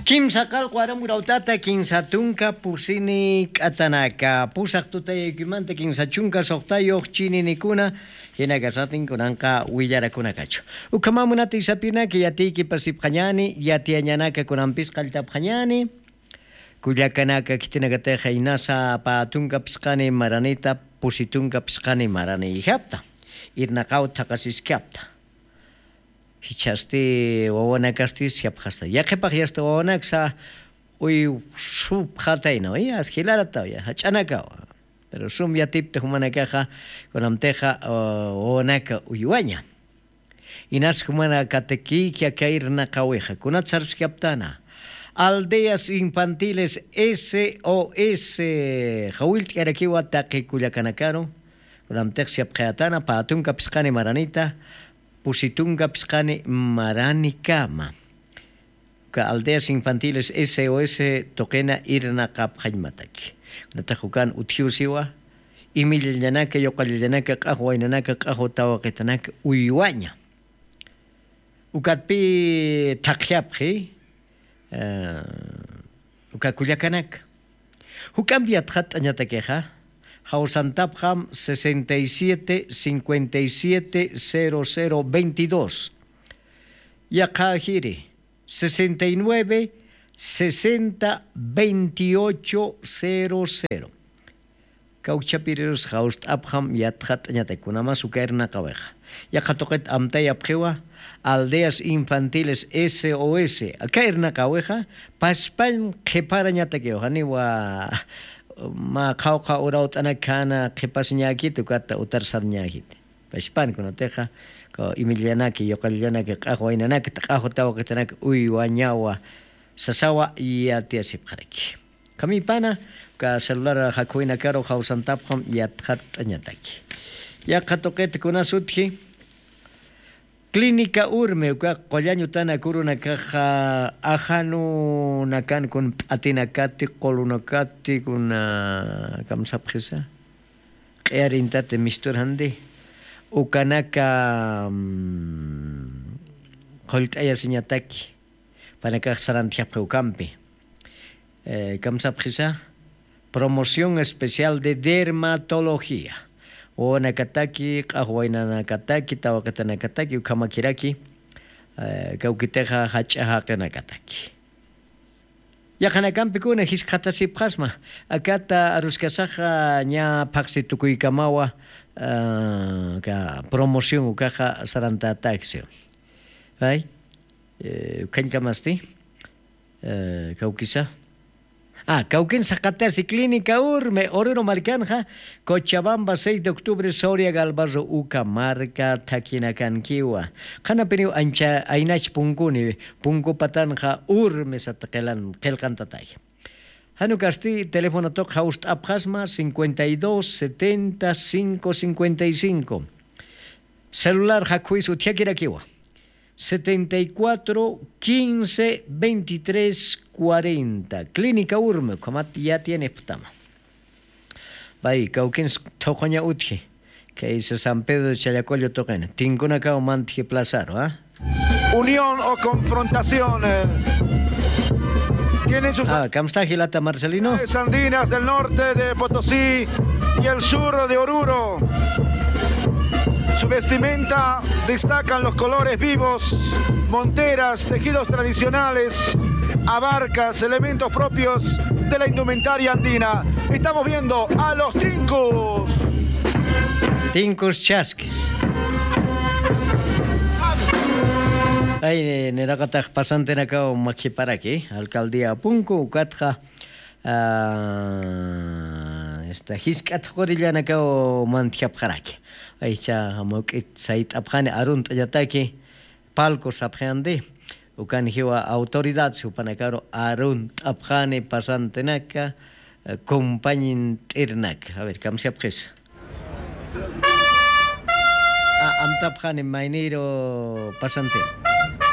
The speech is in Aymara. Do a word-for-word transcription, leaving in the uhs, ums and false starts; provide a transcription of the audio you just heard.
Kimsa qalqu aram urawt'ata kinsa tunka pusini k'atanaka pusaq tutayaykimanta kinsa chunka suqtayuq chininikuna. Jinakasatin kunanqa willarakunakachu. Ukhamamunata isapinaka yatiykipasipxañani yatiyañanaka kunampis qalltapxañani. Kullakanaka khitinakatixa inasa pä tunka phisqani maranita pusi tunka phisqani maraniyjapta. Irnaqaw thaqasiskapta. Jichhasti wawanakasti siyapxasta yaqhipax yasta wawanaksa. Uywsupxataynaw ya jilarataw ya jach'anakaw. Pero sum yatipta jumanakaxa kunamtixa wawanaka uywaña. Inas jumanakatakïkya kayrnaqawixa kunat sarskaptana. Aldeas infantiles sos jawillt'karakiwa taqi kullakanakaru. Kunamtix siyapxayatana pä tunka phisqani maranita pusi tunka phisqani maranikama. Uka aldeas infantiles sos tuqina irnaqapxañmataki. Kunatax ukan utjiw siwa imillallanaka yuqallallanaka q'axwa waynanaka q'axwa tawaqitanaka uywaña. Ukatpï thaqjapxi uka kullakanaka. Juk'ampi yatxatt'añatakixa jawsantapxam sesenta y siete cincuenta y siete cero cero veintidós. Yaqha jiri sesenta y nueve sesenta veintiocho cero cero. Kawkchapirirus jawst'apxam yatxatt'añatak kunamas uka irnaqawixa. Yaqha tuqit amtayapxiwa aldeas infantiles sos aka irnaqawixa paspañ qhiparañatakiw janiwa mä qhawqha urawt'anak khana qhipasiñäkiti ukata utar sarñäkiti. Paspan kunatixa imillanaki yuqallanaki q'axwa waynanaki q'axwa tawaqitanaki uywañawa sasawa yatiyasipxaraki. Khamipana uka celular jakhuwinakaru jawsantapxam yatxatt'añataki. Yaqha tuqita kunas utji clínica urme uka qullañ utana kurunakaxa ajanunakan kun p'atinakati qulunakati kuna kamsapxisa q'iyarintati misturjandi ukanaka qullt'ayasiñataki panakax sarantjapxi ukampi. Kamsapxisa promoción especial de dermatología wawanakataki q'axwaynanakataki tawaqitanakataki ukhamakiraki kawkitixa jach'a jaqinakataki. Yaqhanakampikuna jiskxatasipxasma akata aruskasaxa ña phaqsi tukuykamawa promoción ukaxa sarantätaksi. Ay ukhañkamasti kawkisa. Kawkin saqatasi clínica urme oruro markanxa cochabamba seis de octubre soria galbarro uka marka thakinakankiwa. Qhanapiniw ancha aynach punkuni punku patanxa urme sata qilqantatay. Janukasti telefonotuq jawst'apxasma cincuenta y dos setenta cinco cincuenta y cinco. Celular jakhuwis utjakirakiwa setenta y cuatro quince veintitrés cuarenta clínica urme ukhamat yatiyaniqptama. Pay kawkins thuqhuña utji kaysa san pedro challacollo tuqina tinkunakaw mantji plazaru. Unión o confrontación. Tienen sus Ah, kamsta jilata Marcelino. Andinas del norte de Potosí y el sur de Oruro. Su vestimenta destacan los colores vivos, monteras, tejidos tradicionales, abarcas, elementos propios de la indumentaria andina. Estamos viendo a los Tincus. Tincus Chaskis. Ay, niraqatax pasantinakaw makhiparaki alcaldía punku ukatxa esta jisk'at qurillanakaw mantjapxaraki. Aycha mawk'it sayt'apxani arunt'añataki palco sapxiyandi ukan jiwa autoridad supanakaru arunt'apxani pasantinaka compañint'irnaka a ver kamsiyapxisa. Amtapxani maynïru pasantin.